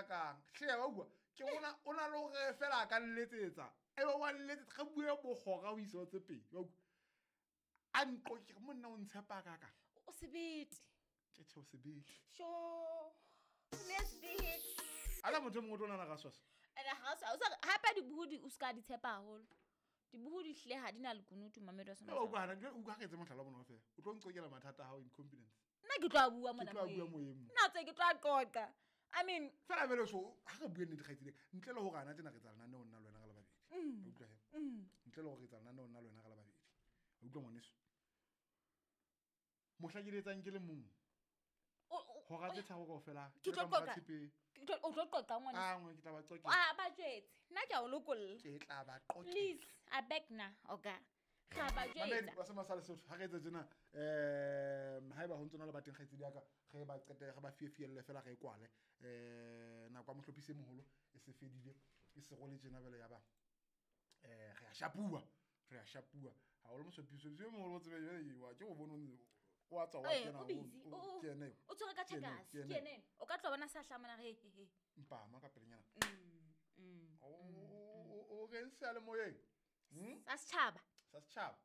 kakang hle wa bua ke ona o na le hore fela a ka nletsetsa e be wa nletsetsa re bue bogora o ise tse pedi wa utlwa. A nqo ke monna o ntshepa kakang. O sebete. Ke tjhe o sebete. Sure. Ne sebete. Ala motho e mongwe o tlo nana ka swaswa. Ene ha o sa hape dibuhudi o ska di tshepa haholo. Dibuhudi hle ha di na lekunutu mamedi wa sona. O utlwa hana, o utlwa ha re etse mohlala wa bona fela. O tlo nqokela mathata a hao in confidence. Nna ke tlo a bua mona Ke tlo a bua moyeng. moyeng mo. Nna tse ke tlo a qoqa. I mean, fela bele so ha re bue nnete kgaitsedi, ntle le hore ana tjena re tsa lenaneo nna le wena re le babedi. O utlwa he? Ntle le hore re tsa lenaneo nna le wena re le babedi. O utlwa ngwaneso? Mohla ke le etsang ke le mong. Hora tse tharo kaofela, Ke tlo ke tla qoqa. tshepe. Ke tlo, o tlo qoqa ngwaneso. Ah, ngwe, ke tla ba qoqela. Ah, ba jwetse. Nna ke a o lokolla. Ke tla ba qoqela. Please, I beg na, oga. Ga ba jwetsa. Mamedi, wa se masale Sotho, ha re etse tjena, haeba ho ntso na le ba teng kgaitsedi ya ka, re ba qete, re ba fiefielle fela re e kwale. Nako ya mohlophisi e moholo e se fedile, e se role tjena jwale ya ba. Re a shapuwa, re a shapuwa. Ha o le mohlophisi e moholo o tsebe jwale, wa ke o bone o ntse o a tswa, wa Eh, kena, o busy, o, ke yena eo. o tshwere ka Ke yena eo, checkers, ke ke yena yena eo. O ka tlo bona sa hlamana re, he, he, he. Mpama ka pelenyana. O reng seyalemoyeng? Sa setjhaba. Sa setjhaba.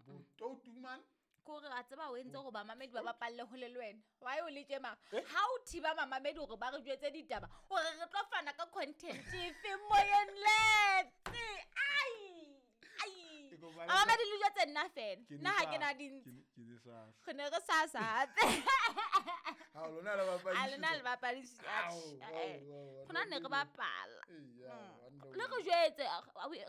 Botoutuman. Ke hore a tseba o entse hore bamamedi ba bapalle hole le wena. Why o le tje mara? Eh? Ha o thiba mamamedi hore ba re jwetse ditaba, hore re tlo fana ka content efe moyeng letse. Ai! Ai! Ke kopa le Mamamedi le jwetse nna fela. Ke ne Nna ha sa- ke na dintsi. ke ne- ke ne sa- Re ne re sa sa hape. Ha, lona le bapadi A lona le bapadi Ao, eh, ao, ao, rona ne re bapala. Eya, wonder Le re woman. jwetse,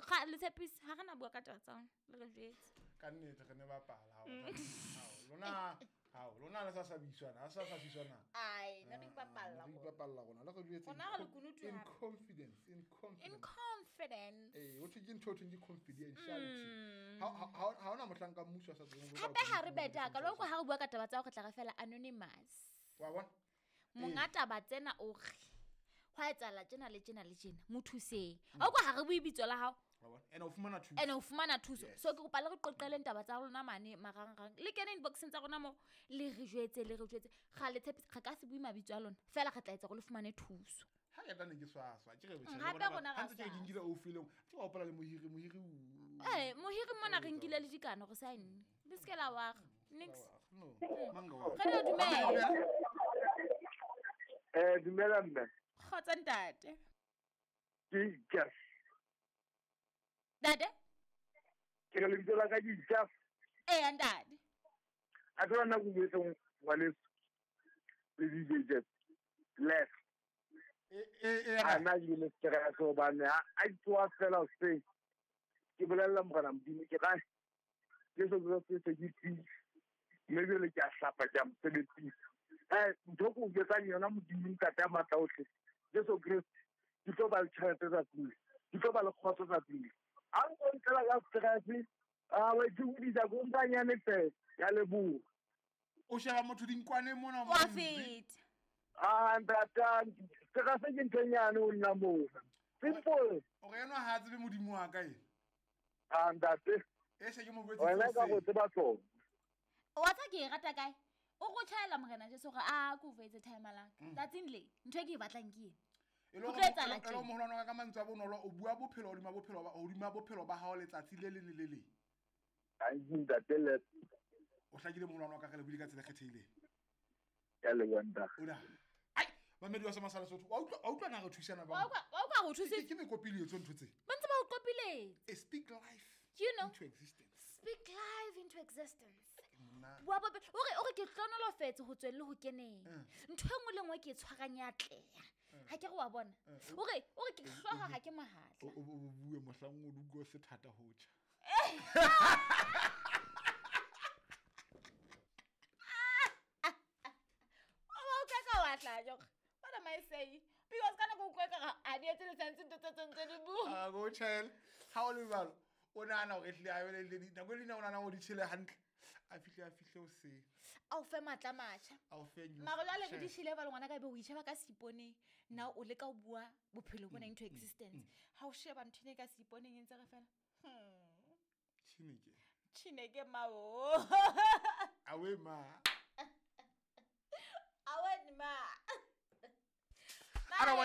ga le tshepise, ha re na bua ka taba tsa rona, le re jwetse. Ka nnete re ne bapala, hao, hao, lona, hao, lona le sa sabiswana, ha sa sabiswana. Ai, ne re ipapalla Ne re rona. ipapalla rona, le re jwetse Rona re lekunutu in hape. confidence, in confidence. In confidence. Eh, ho thwe ke ntho ho thweng ke confidentiality. Ha hona mohlanka mmuso a sa tsebeng ho bua Hape ha re ka beta ka loko ha re bua ka taba tsa hore tla re fela anonymous. Wa bona? Monga taba tsena o re hwa etsahala tjena le tjena le tjena, mo thuseng. Ha o kwa ha re bue bitso la hao. Wa bona? Ene o fumana thuso. Ene o fumana thuso. Yes. So ke kopa le re qoqeleng taba tsa rona mane marangrang. Le kene inboxeng tsa rona mo, le re jwetse, le re jwetse. Ga le tshepise, re ka se bue mabitso a lona. Fela re tla etsa hore le fumane thuso. Ha ke tla ne ke swaswa, ke re botjha, Hape le bona rona ba- ra ha ntse ke re ke swaswa. nkile o fileng, ke wa hopola le mohiri, mohiri o- Eh, mohiri mona re nkile le dikano re saenne. Le se ke la wa re. Nix. No, mang ka wa- Re le dumela. Dumela mme. Kgotsa ntate. Ke Jeff. Ntate? Ke re lebitso la ka ke Jeff. Eya, ntate. A tseba nna ke buetse ngwaneso le DJ Jeff. Left. A nna ke bile stress hobane ha a tsoha fela hoseng, ke bolella morena Modimo ke re, Jesu Kreste se ke tsile. Mme jwale ke a hlapa ke a mosebetsing. Ntho ke o jwetsang yona Modimo ntate ya matla ohle, Jesu Kreste, ke tlo ba le tjhelete tsatsing le, ke tlo ba le kgotso tsatsing le. Ha nko ntlela ka stress, a wa itshokudisa ko mpanyane fela, ke a leboha. O sheba motho dinkwaneng mona Wa feta. Ah, ntate, stress ke ntho e nyane ho nna mona. Simple. O re enwa ha a tsebe Modimo wa ka ena. Ah, ntate. E se ke mo jwetse Wena ka go tse tseba tsona. Wa tsa ke e rata kae? O go tjhaela morena Jesu hore a ko fetse time la ka. Tsatsing le, ntho e ke e batlang ke ena. E le Ho hore tlo etsahala e le hore tjena. moholwane wa ka mantswe a bonolo, o bua bophelo hodima bophelo ba, hodima bophelo ba hao letsatsi le leng le le leng. Thank you, ntate Le. O hlakile moholwane wa ka, re le buile ka tsela e kgethehileng. Ke a leboha, ntate. O na. Ai, mamedi wa Semasala Sotho, wa utlwa, wa utlwa na re thusana ba? Wa utlwa, wa utlwa re thusitse? Ke mekopiletso ntho tse. Ba ntse ba o qopiletse. Speak life You know? into existence. Speak life into existence. Nna. Bua bope, o re, o re ke hlohonolofetse ho tswelle ho keneng. Ntho e nngwe le nngwe ke e tshwarang ya atleha. Ha ke re wa bona. O re, o re ke hlooho ha ke mohatla. O bue mohlang o dutlo se thata ho tjha. O ba utlwa ka wa tla jok. What am I saying? Because ka nako utlwa ka ha di etse le sentse ntho tse ntse di bua. Ah, go tjhele. Ha o le jwalo, o nahana hore ehlile a be le nako e leng o nahana hore di tjhele hantle. A fihle, a fihle o se. A o fe matla a matjha. A o fe new Mara jwale re share. di shile ba le ngwana ka ebe o itjheba ka seiponeng. Now o leka ho bua bophelo bona into existence. Ha o sheba ntho ena e ka seiponeng e ntse re fela. Chineke. Chineke ma o. Awe ma. Awe ma. Ara wa